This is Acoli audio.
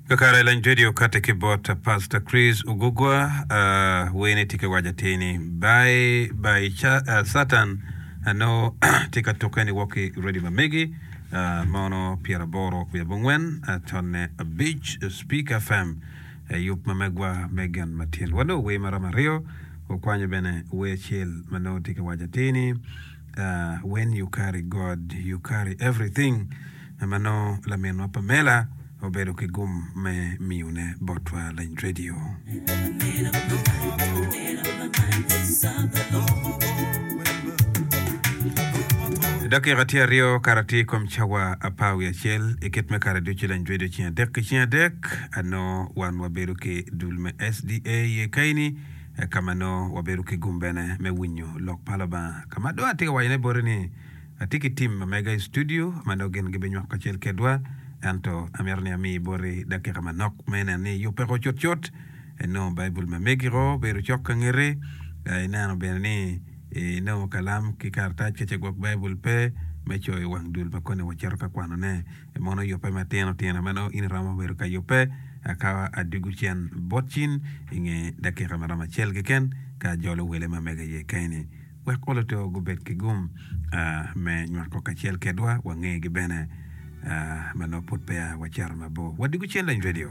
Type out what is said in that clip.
Kakare lany radio okati ki bot Pastor Chris Ogugwa, wer-ni tye ka waco atir ni Bye bye Satan nongo tye ka tukke ni wok ki radio ma megi mono pyeraboro wiye abongwen tonne abic Speak FM yub ma megwa me gen matin. Wanongo wer maromo aryo, wakwanyo bene wer acel ma nongo tye ka waco atir ni When you carry God, you carry everything ma nongo laminwa Pamela obedo ki gum me miyone botwa lany radio. Dakika tye aryo kara tye i kom cawa apar wiye acel i kit me kare ducu lany radio ceng adek ki ceng adek anongo wan wabedo ki dul me SDA iye kaini ka ma nongo wabedo ki gum bene me winyo lok pa Lubanga. Ka ma dong atye ka wacone boti ni atye ki tim ma mega i studio ma nongo gin gibinywako kacel kedwa, ento amito ni ami boti dakika manok me neno ni iyubbe ko cutcut, inongo Baibul ma megi ko bedo cok ka ngeti, ineno bene ni inongo kalam ki karatac ka ce gwok Baibul pe me coyo wang dul ma koni wacito ka kwanone. Mono yubbe matino tino ma nongo in iromo bedo ka yubbe ka adwogo cen bot cin i nge dakika ma romo acel keken ka ajolo wele ma mege iye keni. Wek oloto gubed ki gum me nywako kacel kedwa, wangegi bene ma nongo pud peya wacito mabor. Wadwogo cen lany radio.